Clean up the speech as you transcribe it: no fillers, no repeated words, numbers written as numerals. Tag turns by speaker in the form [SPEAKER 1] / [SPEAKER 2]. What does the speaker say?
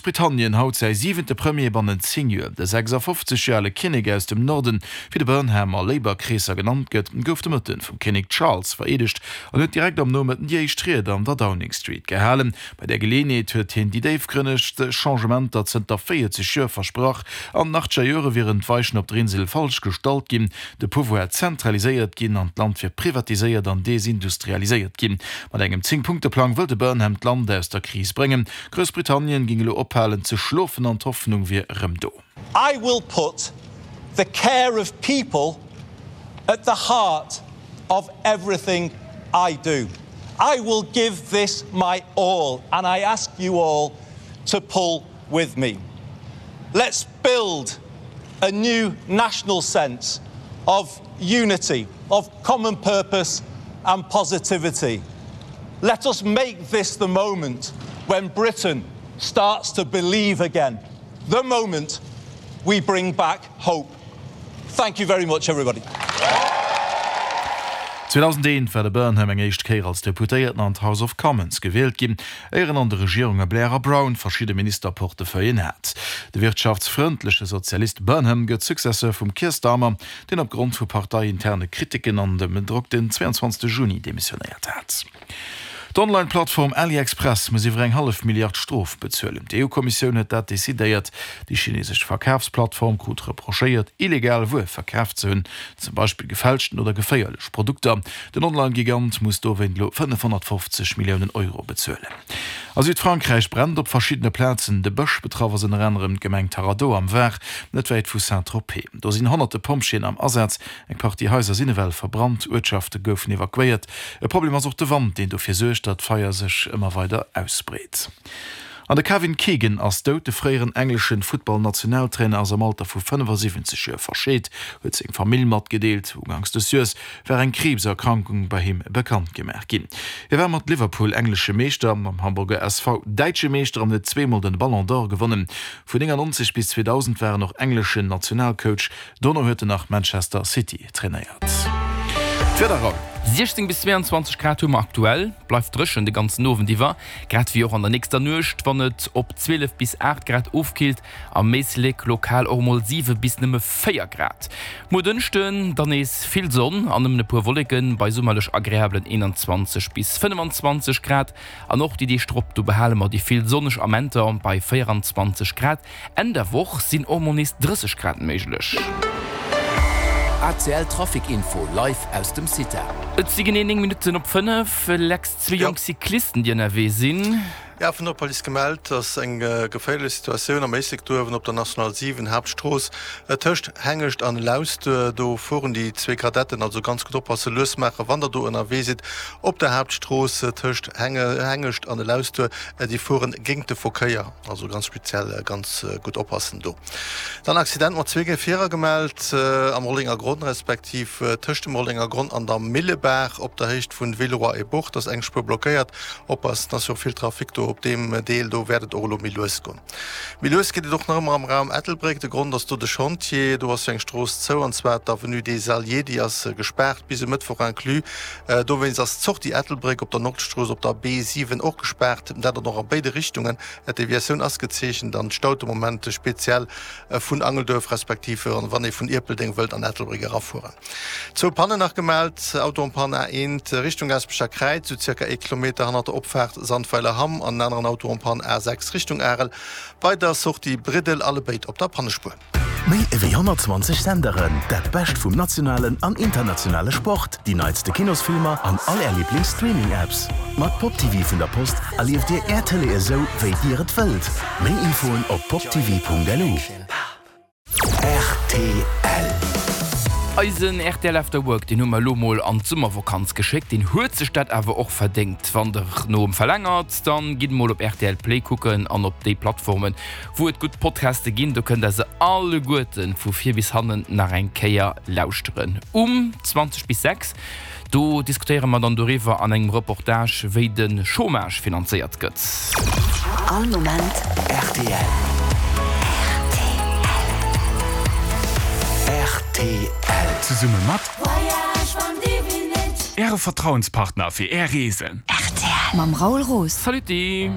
[SPEAKER 1] Groussbritannien haut säi siwente Premier bannent 10 Joer. De 56 Joer ale Kinnek aus dem Norden, wéi de Burnham a Labour-Kreesser genannt gëtt, gouf de Mëtten vum Kinnek Charles vereedegt an huet direkt am Nomëtten déi éischt Ried an der Downing Street gehalen. Bei där Geleeënheet huet hien déi déifgrënnegst Changementer zënter 40 Joer versprach. An den achtzeger Jore wieren d'Weichen op der Insel falsch gestallt ginn, de Pouvoir zentraliséiert ginn an d'Land wier privatiséiert an desindustrialiséiert ginn. Mat engem Zéng-Punkte-Plang wëll de Burnham d'Land aus der Kris bréngen. Groussbritannien géing elo ophalen ze schlofen an d'Hoffnung wier erëm do.
[SPEAKER 2] I will put the care of people at the heart of everything I do. I will give this my all and I ask you all to pull with me. Let's build a new national sense of unity, of common purpose and positivity. Let us make this the moment when Britain starts to believe again. The moment we bring back hope. Thank you very much everybody.
[SPEAKER 1] 2001 war de Burnham eng éischt Kéier als Deputéierten an d'House of Commons gewielt ginn, éier en an de Regierunge Blair a Brown verschidde Ministerportefeuillen hat. De wirtschaftsfrëndleche Sozialist Burnham gëtt Successeur vum Keir Starmer, deen opgrond vu parteiinterne Kriticken an dem Drock den 22 Juni demissionéiert hat. D'Online-Plattform AliExpress muss iwwer eng hallef Milliard Strof bezuelen. D'EU-Kommissioun huet dat decidéiert. Déi chinesesch Verkafsplattform krut reprochéiert, illegal Wuer verkaf ze hunn, zum Beispill gefälschten oder geféierlech Produkter. Den Online-Gigant muss dowéint elo 550 Milliounen Euro bezuelen. A Südfrankräich brennt op verschiddene Plazen de Bësch. Betraff ass ënner anerem d'Gemeng Taradeau am Var, net wäit vu Saint-Tropez. Do sinn honnerte Pompjeeën am Asaz. Eng Partie Haiser sinn ewell verbrannt, Uertschafte goufen evakuéiert. E Problem ass och de Wand, deen dofir suergt, datt d'Feier sech ëmmer weider ausbreet. An de Kevin Keegan ass dout. De fréieren englesche Futtball-Nationaltrainer ass am Alter vu 75 Joer verscheet, huet seng Famill matgedeelt. Uganks des Joers war eng Kriibserkrankung bei him bekannt gemaach ginn. Hie war mat Liverpool englesche Meeschter, mam Hamburger SV däitsche Meeschter an huet zweemol den Ballon d'Or gewonnen. Vun 99 bis 2000 war en och engleschen Nationalcoach. Dono huet en nach Manchester City trainéiert.
[SPEAKER 3] D'Wieder Raoul. 16 bis 22 Grad hu mer aktuell, bleift dréchen de ganzen Owend iwwer, grad wéi och an der nächster Nuecht, wann et op 12 bis 8 Grad ofkillt, am Éislek lokal och mol 7 bis nëmme 4 Grad. Muer Dënschden dann nees vill Sonn an nëmmen e puer Wolleken bei summerlech agreablen 21 bis 25 Grad. An och déi Deeg drop, do behale mer déi vill sonneg Amenter bei 24 Grad. Enn der Woch sinn och mol nees 30 Grad méiglech.
[SPEAKER 4] ACL Trafic Info live aus dem CITA.
[SPEAKER 3] Et si genee 9 Minutten op 5. Lex, zwee jonk Cyclisten déi ënnerwee sinn.
[SPEAKER 5] Jo, vun der Police gemellt, dass eng geféierlech Situatioun am Éislek do uewen op der National 7, Haaptstrooss, tëscht Hengescht an Lausduer. Do fueren déi zwee Kadetten, also ganz gutt oppassen, lues maachen, wann der do ënnerwee sidd op der Haaptstrooss tëscht Hengescht an Lausduer. Déi fueren géingt de Verkéier. Also ganz speziell ganz gutt oppassen do. Dann Accident mat zwee Gefierer gemellt am Rollenger Gronn, respektiv tëscht dem Rollenger Gronn an der Millebaach op der Héicht vun Villeroy-et-Bourg. Do ass eng Spuer blockéiert. Oppassen, ass jo och vill Trafic do op deem Deel. Do wäert et och elo méi lues goen. Méi lues geet et och nach ëmmer am Raum Ettelbréck. De Grond ass do de Chantier. Do ass jo eng Strooss zou, an zwar d'Avenue des Alliés. Déi ass gespaart bis e Mëttwoch inclus. Dowéinst ass d'Sortie Ettelbréck op der Nordstrooss op der B7 och gespaart, dat och a béide Richtungen. D'Deviatioun ass gezeechent an staut de Moment speziell vun Angelduerf respektiv wann ee vun Ierpeldeng wëllt an Ettelbréck erafueren. Zwou Pannen nach gemellt, Auto en panne A1 Richtung Gaasperecher Kräiz, sou zirka ee Kilometer hannert der Opfaart Sandweiler-Hamm an en aneren Auto en panne A6 Richtung Arel bei der Sortie Briddel, allebéid op der Pannespuer.
[SPEAKER 4] Méi ewéi 120 Senderen, dat Bescht vum nationalen an internationale Sport, déi neitste Kinosfilmer an all Är Liiblings-Streaming-Apps. Mat Pop TV vun der Post erlieft Dir Är Tëlee esou, wéi Dir et wëllt. Méi Infoen op poptv.lu. Rtl.
[SPEAKER 3] Eisen rtl After Work, deen hu mer elo mol an d'Summervokanz geschéckt. Deen huet sech dat awer och verdéngt. Wann der no em verlängert, dann gitt mol op rtl Play kucken an op déi Plattformen, Wou et gutt Podcaste ginn, do kënnt der se alleguerten vu vir bis hannen nach eng Kéier lauschteren. Um 20 bis 6, do diskutéiere mer dann doriwwer an engem Reportage, wéi de Chômage finanzéiert gëtt.
[SPEAKER 4] All Moment rtl. Rtl.
[SPEAKER 6] Zesumme mat Äre Vertrauenspartner fir Är Reesen.
[SPEAKER 7] Rtl. Mam Raoul Roos.
[SPEAKER 3] Saluti!